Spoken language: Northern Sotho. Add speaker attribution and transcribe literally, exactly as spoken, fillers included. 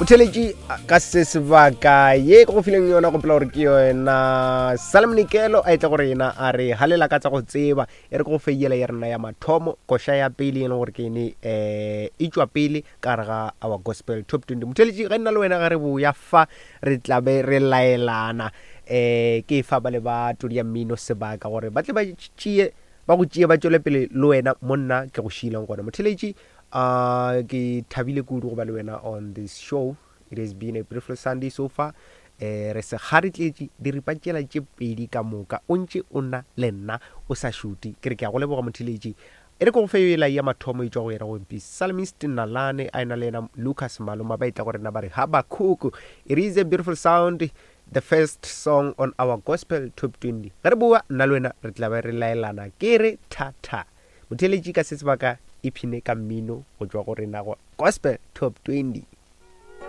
Speaker 1: Motheletši, ka se sebaka ye ke go fileng yona, gopola gore ke yona Salomnikelo a etla gore yena a re halela ka tsa go tseba. E re ke go feiela ya rena ya mathomo, koša ya pele e leng gore ke ene um e tšwa pele ka gare ga our Gospel Top twenty. Motheletši, ge nna le wena ge re boya fa, re tlabe re laelana um ke fa ba le ba todi ya mmino sebaka gore ba tle ba tšee, ba go tšee, ba tšwele pele le wena monna ke go šiileng gona. Motheletši, uh ke thabile kudu go ba le wena on this show. It has been a beautiful Sunday so far. eh re se kgaretletše diripa tšela tše pedi ka moka, o ntše o na le nna o sa šute. Ke re ke a go leboga, motheletši. E re ke go fe ela ya mathomo e tšwa go yena go Psalmist Nalane, a ena le yena Lucas Maloma, ba etla go rena ba re Habakkuk. It is a beautiful sound, the first song on our Gospel Top twenty. Ge re boa, nna le wena re tla be re laelana. Ke re thata, motheletši, ka se sebaka iphine ka mmino go tšwa go rena go Gospel Top twenty.